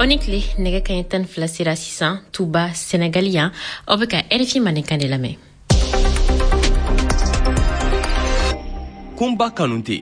Aw ni tile. Nɛgɛ kaɲɛ 12 sera sisan Tuba, Senegali yan. Aw bɛ ka RFI Mandenkan de lamɛn. Kunba Kanute.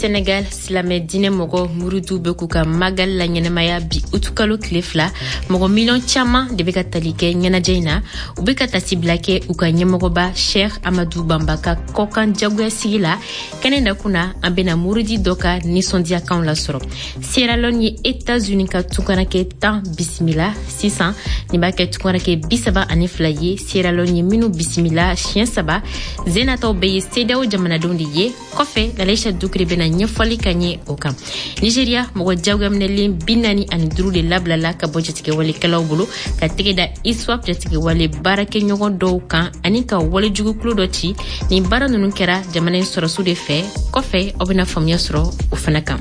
Senegal, silamɛ diinɛ mɔgɔ muridu bɛ k'u ka magal la ɲɛnamaya bi utukalo tile 2. Mɔgɔ miliyɔn caman de bɛ ka tali kɛ ɲɛnajɛ in na. U bɛ ka tasibila kɛ u ka ɲɛmɔgɔba Cheikh Amadou Bamba ka kɔkan jagoya sigi la. Kɛnɛ nakun na, an bɛna muridi dɔ ka nisɔndiyakanw lasɔrɔ. Sierra Leone ye Etats-Unis ka tunkaranke 10 bisimila sisan. Nin b'a kɛ tunkaranke 32 ye Sierra Leone ye minnu bisimila siɲɛ saba. Zenataw bɛɛ ye CEDEAO jamanadenw de ye. Kɔfɛ, Lalaisa Dukure bɛna ɲɛfɔli ka ɲɛ o kan. Nigeria, mɔgɔ jagoyaminɛlen 45 de labilala ka bɔ jatigɛwalekɛlaw bolo, ka tɛgɛ da ISWAP jatigɛwale baarakɛɲɔgɔn dɔw kan ani ka walejugukulu dɔ ci. Nin baara ninnu kɛra jamana in sɔrɔsiw de fɛ. Kɔfɛ, aw bɛna faamuya sɔrɔ o fana kan.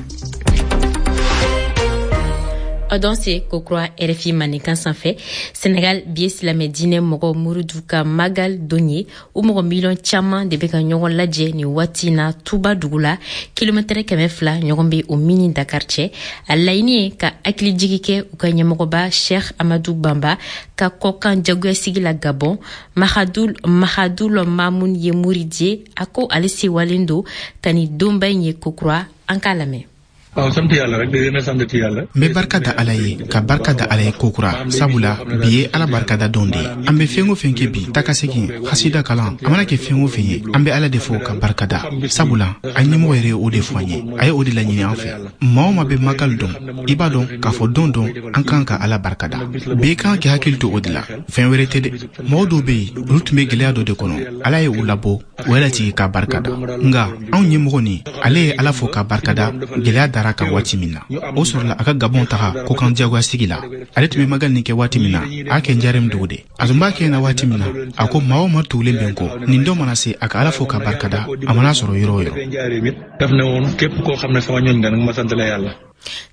Aw danse kokura RFI Mandenkan sanfɛ. Senegal, bi ye silamɛ diinɛ mɔgɔ murudu ka magal don ye. U mɔgɔ miliyɔn caman de bɛ ka ɲɔgɔn lajɛ nin waati na Tuba dugu la, kilomɛtɛrɛ 200 ɲɔgɔn bɛ o min ni Dakar cɛ. A laɲini ye ka hakilijigi kɛ u ka ɲɛmɔgɔba Cheikh Amadou Bamba ka kɔkan jagoyasigi la Gabon. Mahadul Mahadul Mamun ye muridi ye. A ko ale sewalen don ka nin donba in ye kokura. An k'a lamɛn. Waaw, sant yàlla rek di gën a sant ci yàlla. N bɛ barika da Ala ye, ka barika da Ala ye kokura, sabula bi ye Ala barikada don de ye. An bɛ fɛn o fɛn kɛ bi, taa ka segin, hasida kalan, a mana kɛ fɛn o fɛn ye, an bɛ Ala de fo ka barika da, sabula an ɲɛmɔgɔ yɛrɛ ye o de fɔ an ye, a ye o de laɲini an fɛ. Maa o maa bɛ magal dɔn, i b'a dɔn k'a fɔ don don an kan ka Ala barika da. Bɛɛ kan k'i hakili to o de la, fɛn wɛrɛ tɛ dɛ. Mɔgɔ dɔw bɛ yen, olu tun bɛ gɛlɛya dɔ de kɔnɔ, Ala ye u labɔ, o y'a latigi k'a barika da. Nka anw ɲɛmɔgɔ nin, ale ye Ala fo k'a barikada gɛlɛya dara kan waati min na, o sɔrɔla a ka Gabɔn taga kɔkan diyagoya sigi la. Ale tun bɛ magal nin kɛ waati min na, a y'a kɛ Njarem dugu de. A tun b'a kɛ na waati min na, a ko maa o maa tugulen bɛ n kɔ, nin don mana se, a ka Ala fo k'a barikada, a mana sɔrɔ yɔrɔ o yɔrɔ. Daf ne woon képp koo xam ne sama ñooñ nga nag ma sant la yàlla.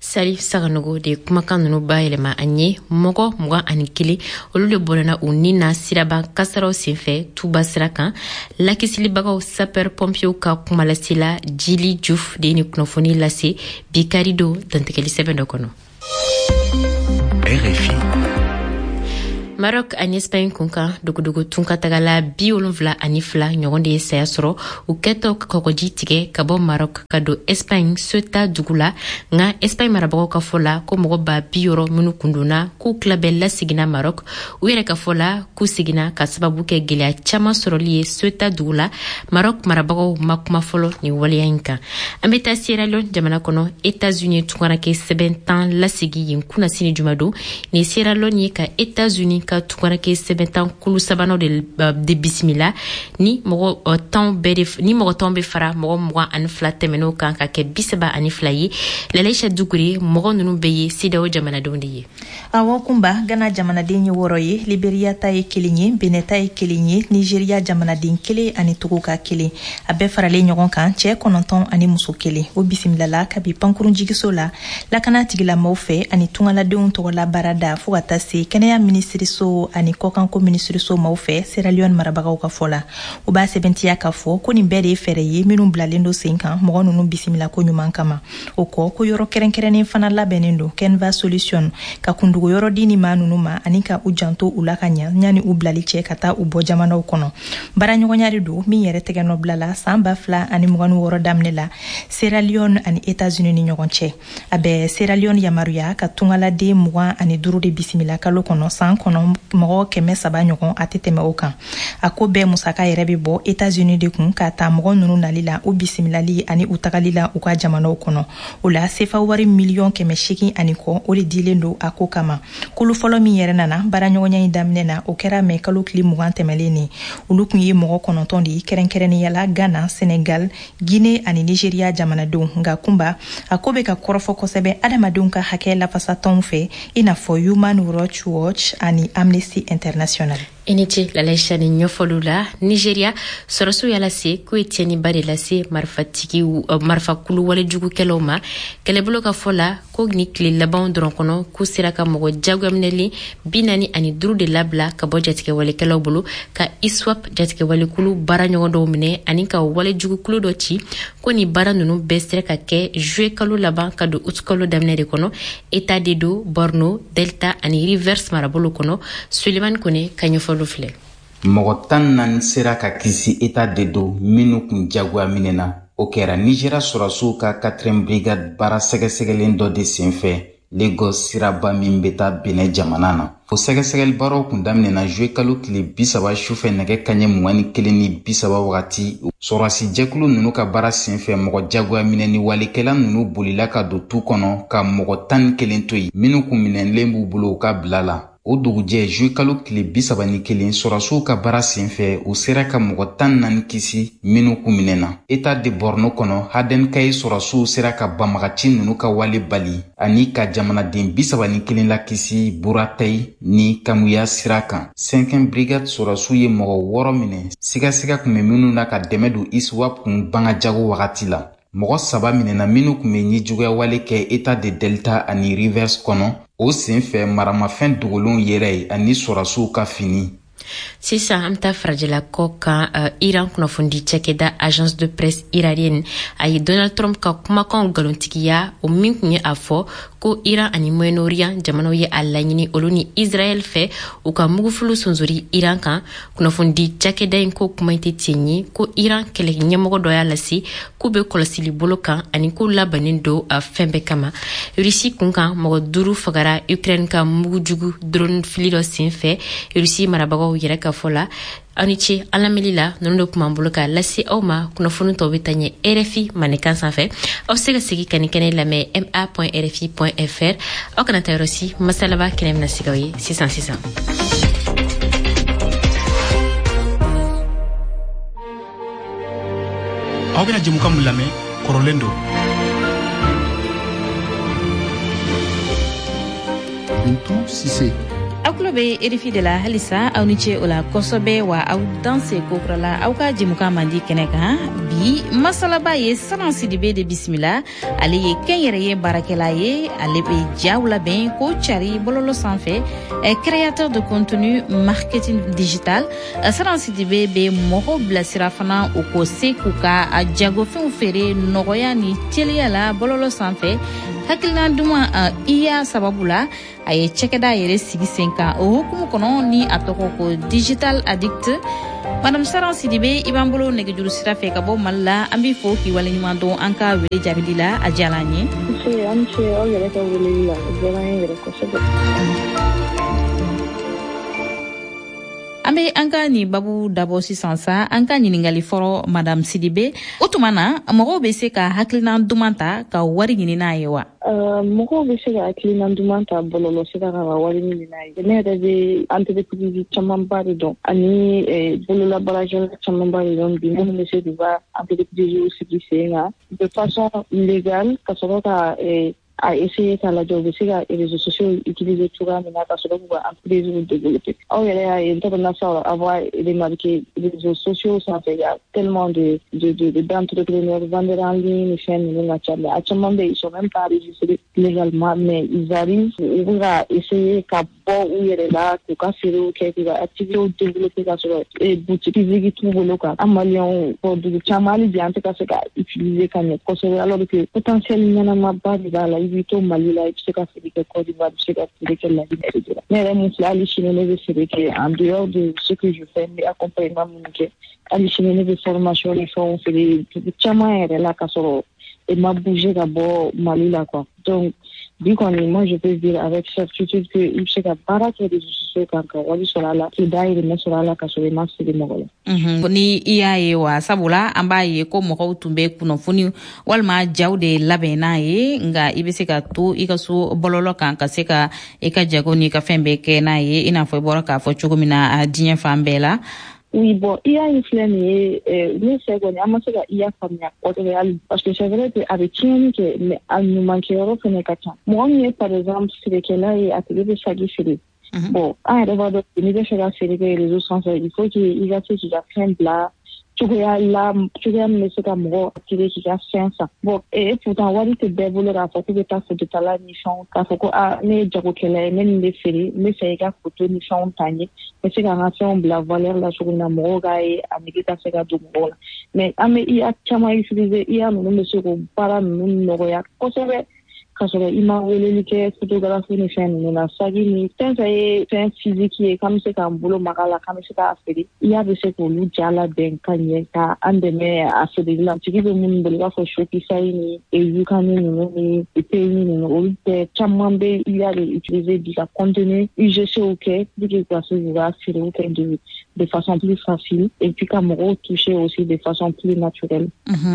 Salif Saganogo de kumakan nunu bayɛlɛma an ye. Mɔgɔ 21, olu de bɔnɛna u ni na siraba kasaraw senfɛ Tuba sira kan. Lakisibagaw sapeur pompiers ka kumalasela Jili Juf de ye ni kunnafoni lase bi kari don dantigɛli sɛbɛn dɔ kɔnɔ. RFI. Maroc ani Espagne kunkan, dogodogo tunkatagala 72 ɲɔgɔn de ye saya sɔrɔ u kɛtɔ kɔgɔji tigɛ ka bɔ Maroc ka don Espagne Ceuta dugu la. Nka Espagne marabagaw ka fɔ la ko mɔgɔ 60 000 minnu kundonna, k'u tila bɛɛ laseginna Maroc. U yɛrɛ ka fɔ la k'u seginna ka sababu kɛ gwɛlɛya caaman sɔrɔli ye Ceuta dugu la. Maroc marabagaw ma kuma fɔlɔ nin waleya in kan. An bɛ taa Sierra Leone jamana kɔnɔ. États-Unis tunkaranke sɛbɛn 10 lasegi yen kunnasini jumadon. Nin Sierra Leone ye ka États-Unis ka tunkaranke sɛbɛn 10 kulu sabanan de bisimila. Ni mɔgɔ 10 bɛɛ de, ni mɔgɔ 10 bɛ fara mɔgɔ 22 tɛmɛn'o kan, ka kɛ 32 ye. Lalaisa Dukure, mɔgɔ ninnu bɛɛ ye CEDEAO jamanadenw de ye. Awɔ Kunba, Gana jamanaden ye wɔɔrɔ ye, Liberia ta ye kelen ye, Benin ta ye kelen ye, Nigeria jamanaden kelen ani Togo ka kelen. A bɛɛ faralen ɲɔgɔn kan, cɛɛ kɔnɔntɔn ani muso kelen. O bisimilala kabi pankurun jigiso la, lakana tigilamaw fɛ ani tungaladenw tɔgɔla baarada, fɔɔ ka taa se kɛnɛya minisiriso ani kɔkanko minisiriso maw fɛ. Sierra Leone marabagaw ka fɔ la, u b'a sɛbɛntiya k'a fɔ ko nin bɛɛ de ye fɛɛrɛ ye minnu bilalen don sen kan mɔgɔ ninnu bisimila ko ɲuman kama. O kɔ, ko yɔrɔ kɛrɛnkɛrɛnnen fana labɛnnen don, Kenva Solution, ka kundogo yɔrɔ di ni maa ninnu ma ani ka u janto u la ka ɲa ɲani u bilali cɛ ka taa u bɔ jamanaw kɔnɔ. Baaraɲɔgɔnya de don min yɛrɛ tɛgɛ nɔ bila la san 2026 daminɛ la Sierra Leone ani États-Unis ni ɲɔgɔn cɛ. A bɛ Sierra Leone yamaruya ka tungaladen 25 de bisimila kalo kɔnɔ, san kɔnɔ mɔgɔ 300 ɲɔgɔn, a tɛ tɛmɛ o kan. A ko bɛɛ musaka yɛrɛ bɛ bɔ États-Unis de kun, k'a ta mɔgɔ ninnu nali la, u bisimilali ani u tagali la u ka jamanaw kɔnɔ. O la, sefa wari miliyɔn 800 ani kɔ, o de dilen don a ko kama. Kulu fɔlɔ min yɛrɛ nana baaraɲɔgɔnya in daminɛ na, o kɛra mɛ kalo tile 20 tɛmɛlen ni. Olu kun ye mɔgɔ kɔnɔntɔn de ye, kɛrɛnkɛrɛnnenya la Ghana, Senegal, Guinée ani Nigeria jamanadenw. Nka Kunba, a ko bɛ ka kɔrɔfɔ kosɛbɛ adamadenw ka hakɛ lafasatɔnw fɛ, i n'a fɔ Human Rights Watch ani Amnesty International. I ni ce Lalaïcha ni ɲɛfɔliw la. Nigeria sɔrɔsiw y'a lase k'u ye tiɲɛniba de lase marifatigiw, marifakulu walejugukɛlaw ma. Kɛlɛbolo ka fɔ la ko ni tile labanw dɔrɔn kɔnɔ, k'u sera ka mɔgɔ jagoyaminɛlen 45 de labila ka bɔ jatigɛwalekɛlaw bolo, ka ISWAP jatigɛwalekulu baara ɲɔgɔn dɔw minɛ ani ka walejugukulu dɔ ci. Ko ni baara nunu bɛɛ sera ka kɛ juillet kalo laban ka don août kalo daminɛ de kɔnɔ, État d'Edo, Borno, Delta ani Rivers marabolo kɔnɔ. Sulemani Kone ka ɲɛfɔliw filɛ. Mɔgɔ 14 sera ka kisi État d'Edo minnu kun jagoya minɛna. O kɛra Nigéria sɔrɔsiw ka 4e brigade baara sɛgɛsɛgɛlen dɔ de senfɛ Lagos siraba min bɛ taa Benin jamana na. O sɛgɛsɛgɛli baaraw kun daminɛna juillet kalo tile 30 sufɛ nɛgɛ kaɲɛ 21:30 wagati. Sɔrɔsi jɛkulu ninnu ka baara senfɛ, mɔgɔ jagoya minɛ ni walekɛla ninnu bolila ka don tu kɔnɔ ka mɔgɔ 11 to yen minnu kun minɛlen b'u bolo u ka bila la. O dugujɛ juillet kalo tile 31, sɔrɔsiw ka baara senfɛ, u sera ka mɔgɔ 14 kisi minnu kun minɛna. État de Borno kɔnɔ, Haden Kai sɔrɔsiw sera ka banbagaci ninnu ka wale bali ani ka jamanaden 31 lakisi Buratai ni Kamuya sira kan. 5e brigade sɔrɔsiw ye mɔgɔ 6 minɛ sigasiga kun bɛ minnu na ka dɛmɛ don ISWAP kun bangajago wagati la. Mɔgɔ 3 minɛna minnu kun bɛ ɲɛjuguyawale kɛ État de Delta ani Rivers kɔnɔ. O senfɛ maramafɛn dogolenw yɛrɛ ye ani sɔrɔsiw ka fini. Sisan an bɛ taa farajɛla kɔ kan. Iran kunnafonidi cakɛda Agence de presse iranienne a ye Donald Trump ka kumakanw nkalontigiya, o min tun ye a fɔ ko Iran ani Moyen-Orient jamanaw ye a laɲini olu ni Israël fɛ u ka mugufulu sonsori Iran kan. Kunnafonidi cakɛda in ko kuma tɛ tiɲɛ ye, ko Iran kɛlɛ ɲɛmɔgɔ dɔ y'a lase k'u bɛ kɔlɔsili bolo kan ani k'u labannen don fɛn bɛɛ kama. Rusi kun kan, mɔgɔ 5 fagara Ukraine ka mugujugu drone fili dɔ sen fɛ, Rusi marabagaw yɛrɛ ka fɔ la. Aw ni ce an lamɛnli la. Ninnu de tun b'an bolo k'a lase aw ma. Kunnafoni tɔw bɛ taa ɲɛ RFI mandenkan sanfɛ. Aw bɛ se ka segin ka nin kɛnɛ lamɛn ma.rfi.fr. Aw kana taa yɔrɔ si, masalaba kɛnɛ bɛna sigi aw ye sisan sisan. Aw bɛna jɛmukan min lamɛn, kɔrɔlen don. Bintu Sise. Aw tulo bɛ RFI de la halisa. Aw ni ce o la kosɛbɛ wa aw danse kokura la aw ka jɛmukan mandi kɛnɛ kan. Bi masalaba ye Saran Sidibe de bisimila. Ale ye kɛnyɛrɛye baarakɛla ye, ale bɛ jaw labɛn ko cari bɔlɔlɔ sanfɛ, créateur de contenu marketing digital. Saran Sidibe bɛ mɔgɔw bilasira fana o ko se k'u ka jagofɛnw feere nɔgɔya ni teliya la bɔlɔlɔ sanfɛ. Hakilina duman iya sababu la, a ye cakɛda yɛrɛ sigi sen kan o hukumu kɔnɔ ni a tɔgɔ ko Digital Addict. Madame Saran Sidibe, i b'an bolo nɛgɛjuru sira fɛ ka bɔ Mali la. An b'i fo k'i waleɲuman dɔn an ka wele jaabili la, a diyara an ye. Nse, an ce aw yɛrɛ ka weleli la, o diyara an ye yɛrɛ kosɛbɛ. An bɛ an ka nin babu dabɔ sisan sa. An ka ɲininkali fɔlɔ, Madame Sidibe, o tuma na mɔgɔw bɛ se ka hakilina duman ta ka wari ɲini n'a ye wa? Mɔgɔw bɛ se ka hakilina duman ta bɔlɔlɔ sira kan ka wari ɲini n'a ye. Ne yɛrɛ bɛ entreprise camanba de dɔn ani bololabaarakɛla camanba de dɔn bi minnu bɛ se k'u ka entreprise sigi sen kan de façon légale ka sɔrɔ ka a essayer k'a lajɛ u bɛ se ka réseaux sociaux utiliser cogoya min na ka sɔrɔ k'u ka entreprise développer. Aw yɛrɛ y'a ye, n t'a dɔn n'a sɔrɔ avoir remarqué, réseaux sociaux sanfɛ, il y a tellement de de de d'entrepreneurs, vendeurs en ligne ni fɛn ninnu ka ca, mais a caman bɛ yen, ils sont même pas enregistrés légalement, mais ils arrivent, u bɛ ka essayer ka bɔ u yɛrɛ la k'u ka feerew kɛ, k'u ka activités développer ka sɔrɔ boutique physique t'u bolo quoi. An maliyɛnw bɔn dugu caman, hali bi an tɛ ka se ka utiliser ka ɲɛ kosɛbɛ, alors que potentiel ɲɛnamaba de b'a la. I b'i to Mali la, i bɛ se ka feere kɛ Côte d'Ivoire, i bɛ se ka feere kɛ La Guinée, et cetera. Ne yɛrɛ mun filɛ, hali sini ne bɛ feere kɛ en dehors de ce que je fais, n bɛ accompagnement minnu kɛ. Hali sini ne bɛ formation ni fɛnw feere dugu caman yɛrɛ la ka sɔrɔ e ma bouger ka bɔ Mali la quoi. Donc bi kɔni, moi je peux dire avec certitude que i bɛ se ka baara kɛ réseaux sociaux kan ka wari sɔrɔ a la, k'i dahirimɛ sɔrɔ a la ka sɔrɔ i ma siri mɔgɔ la. Ni i y'a ye wa, sabula an b'a ye ko mɔgɔw tun bɛ kunnafoni walima jaw de labɛn n'a ye, nka i bɛ se ka to i ka so bɔlɔlɔ kan ka se ka i ka jago n'i ka fɛn bɛɛ kɛ n'a ye, i n'a fɔ i bɔra k'a fɔ cogo min na diɲɛ fan bɛɛ la. Oui, bon, IA in filɛ nin ye, ne fɛ kɔni, an ma se ka IA faamuya kosɛbɛ hali, parce que c'est vrai que a bɛ tiɲɛni kɛ, mais a ɲuman kɛyɔrɔ fɛnɛ ka ca. Mɔgɔ min ye par exemple feerekɛla ye, a tigi bɛ saki feere. Bon, an yɛrɛ b'a dɔn, n'i bɛ fɛ ka feere kɛ réseau sanfɛ, il faut que i ka se k'i ka fɛn bila cogoya la, cogoya min bɛ se ka mɔgɔ attirer k'i ka fɛn san. Bon, et pourtant wari tɛ bɛɛ bolo k'a fɔ k'u bɛ taa fototala ni fɛnw, k'a fɔ ko aa, ne ye jagokɛla ye, ne nin bɛ feere, n bɛ fɛ i ka foto ni fɛnw ta n ye, n bɛ se ka n ka fɛnw bila valeur la cogo min na, mɔgɔw k'a ye, a nege ka se ka don mɔgɔw la. Mais an bɛ IA caman utiliser, IA ninnu bɛ se k'o baara ninnu nɔgɔya kosɛbɛ, k'a sɔrɔ i ma weleli kɛ photographe ni fɛn ninnu na. Saki ni fɛn fɛn ye fɛn physique ye k'an bɛ se k'an bolo maga la, k'an bɛ se k'a feere, IA bɛ se k'olu ja labɛn ka ɲɛ ka an dɛmɛ a feereli la. Tigi bɛ minnu bolo, i b'a fɔ Shopify ni YouCan ninnu ni Payoneer ninnu, olu bɛɛ caman bɛ IA de utiliser bi ka contenu UGC kɛ pour que ka se k'u ka feerew kɛ de façon plus facile et puis ka mɔgɔw toucher aussi de façon plus naturelle.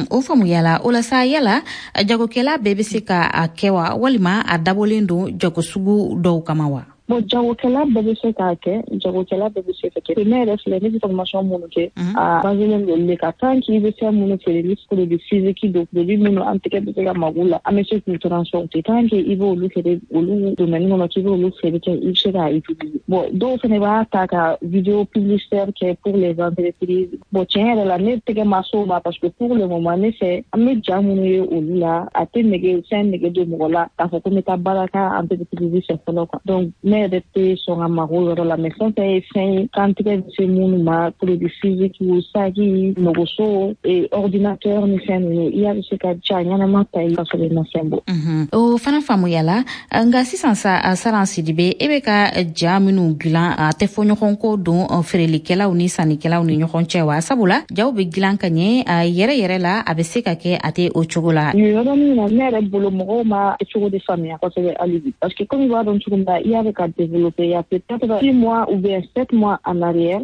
O faamuyala. O la sa, yala jagokɛla bɛɛ bɛ se ka a kɛ wa, walima a dabɔlen don jago sugu dɔw kama wa? Bon, jagokɛla bɛɛ bɛ se k'a kɛ, jagokɛla bɛɛ bɛ se ka kɛ. Ne yɛrɛ filɛ, ne bɛ formation minnu kɛ, a baselen don olu de kan. Tant qu'i bɛ fɛn minnu feere, ni produit physique don, produit minnu an tɛgɛ bɛ se ka mago la, an bɛ se k'u transporter, tant que i b'olu feere, olu domaine kɔnɔ k'i b'olu feere kɛ, i bɛ se k'a utiliser. Bon, dɔw fana b'a ta ka vidéo publicitaire kɛ pour les entreprises. Bon, tiɲɛ yɛrɛ la, ne tɛgɛ ma s'o ma, parce que pour le moment, ne fɛ, an bɛ ja minnu ye olu la, a tɛ nege fɛn nege don mɔgɔ la k'a fɔ ko n bɛ taa baara kɛ entreprise fɛ fɔlɔ quoi. Donc ne yɛrɛ tɛ sɔn ka mago yɔrɔ la, mais fɛn fɛn ye fɛn ye k'an tɛgɛ bɛ se minnu ma, produit physique, saki, nɔgɔso, ordinateur ni fɛn ninnu, IA bɛ se ka ja ɲɛnama ta i ka sɔrɔ i ma fɛn bɔ. O fana faamuyala. Nka sisan sa, Saran Sidibe, e bɛ ka ja minnu dilan, a tɛ fɔ ɲɔgɔn kɔ don feerelikɛlaw ni sannikɛlaw ni ɲɔgɔn cɛ wa? Sabula jaw bɛ dilan ka ɲɛ a yɛrɛ yɛrɛ la, a bɛ se ka kɛ a tɛ o cogo la. Nin yɔrɔnin na, ne yɛrɛ bolo, mɔgɔw ma cogo de faamuya kosɛbɛ hali bi, parce que comme i b'a dɔn cogo min na, IA bɛ ka développer. Il y a peut-être 6 mois ou bien 7 mois en arrière,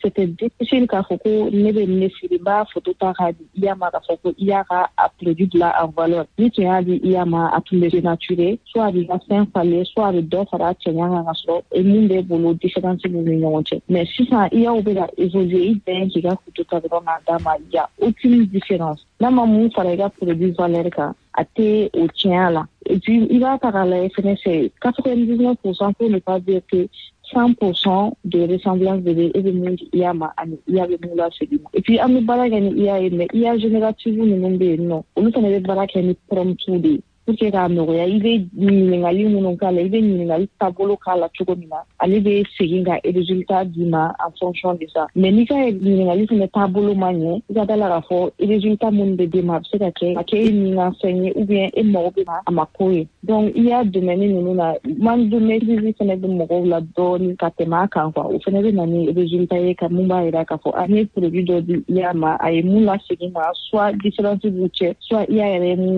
c'était difficile k'a fɔ ko ne bɛ ne feere, n b'a photo ta k'a di IA ma, k'a fɔ ko IA ka a produit bila en valeur. Ni tun y'a di IA ma, a tun bɛ dénaturer, soit a b'i ka fɛn falen, soit a bɛ dɔ fara a cɛɲa kan, ka sɔrɔ mun b'e bolo, différence b'u ni ɲɔgɔn cɛ. Mais sisan IA bɛ ka évoluer, i bɛn k'i ka photo ta dɔrɔn k'a d'a ma, il y a aucune différence. N'a ma mun fara i ka produit valeur kan, a tɛ o tiɲɛ la. Et puis i b'a ta k'a lajɛ fɛnɛ, c'est 99%, pour ne pas dire que 100% de ressemblance de bɛ e bɛ mun di IA ma ani IA bɛ mun lasegin ma. Et puis an bɛ baara kɛ ni IA ye, mais IA générative ninnu bɛ yen nɔ, olu fana bɛ baara kɛ ni prompt de ye pour que k'a nɔgɔya. I bɛ ɲininkali minnu k'a la, i bɛ ɲininkali taabolo k'a la cogo min na, ale bɛ segin ka résultat d'i ma en fonction de ça. Mais n'i ka ɲininkali fana taabolo ma ɲɛ, i ka da la k'a fɔ résultat minnu bɛ d'e ma, a bɛ se ka kɛ a kɛ e ni ka fɛn ye, ou bien e mago bɛ a ma ko ye. Donc i y'a domaine ninnu na, manque de maîtrise fana bɛ mɔgɔw la dɔɔni ka tɛmɛ a kan quoi. O fana bɛ na ni résultat ye ka mun b'a jira k'a fɔ a ne ye produit dɔ di IA ma, a ye mun lasegin ma, soit différence b'u cɛ, soit IA yɛrɛ ye mun